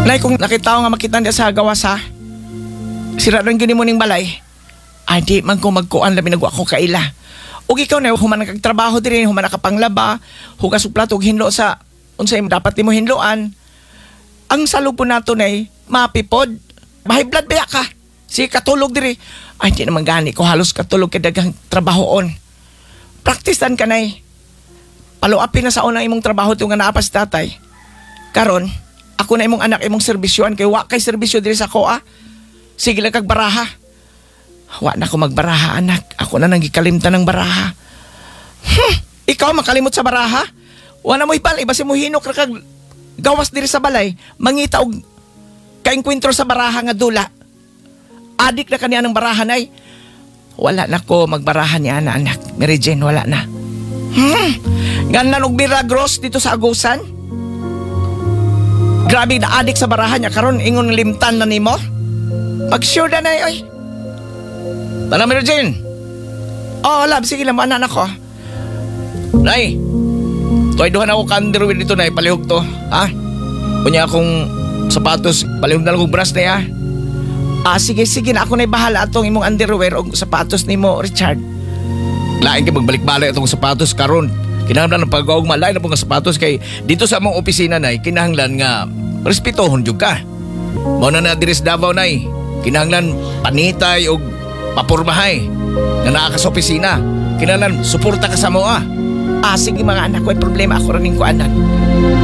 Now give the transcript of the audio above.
Nay, kung nakita ko nga makita niya sa gawas ha, sira rin gini mo ning balay. Ay, di man ko magkuan, labi nagwa ko kaila. Ug ikaw na, human kag trabaho diri, human ka panglaba, hugas og plato ug hinlo sa unsay dapat nimo hinloan. Ang salubo nato nay, mapipod. High blood ba ka? Sige, katulog diri. Ay, di naman gani ko halos katulog kay daghang trabahoon. Praktisan ka, nay. Paluapin na sa unang imong trabaho ito nga naa pa si tatay. Karon, ako na imong anak imong serbisyoan kay wa kay serbisyo diri sa koa. Sige lang kag baraha. Wa na ko magbaraha, anak. Ako na nang gikalimtan ng baraha. Ikaw makalimot sa baraha? Wa na mo ipal, iba si mo hinok ra kag gawas diri sa balay, mangita og kaengkwentro sa baraha nga dula. Adik na kaniya ng baraha, nay. Wala na ko magbaraha niya na, anak. Mary Jane, wala na. Ganan og Milagros dito sa Agusan. Grabe na adik sa baraha niya karon ingon limtan na nimo. Pag sure na nay oy. Tara, Mary Jane. Oh, love, sige lang, anak ko. Nay, tuay duha na ako ka underwear dito, nay, palihog to. Ha? Unya akong sapatos, palihog na lang kong brush na ya. Ah, sige, sige na ako na'y bahala atong imong underwear o sapatos nimo, Richard. Lain kay magbalik-balik atong sapatos karon. Kinahanglan ng pag-augma, lain na po nga sapatos kay dito sa among opisina, nay, kinahanglan nga respetohon jud ka. Mao na na diri sa Davao, nay. Kinahanglan panitay og papormahay nga naa ka sa opisina. Kinahanglan suporta ka sa moa. Ah, sige mga anak ko, ay problema ako rin ko anak.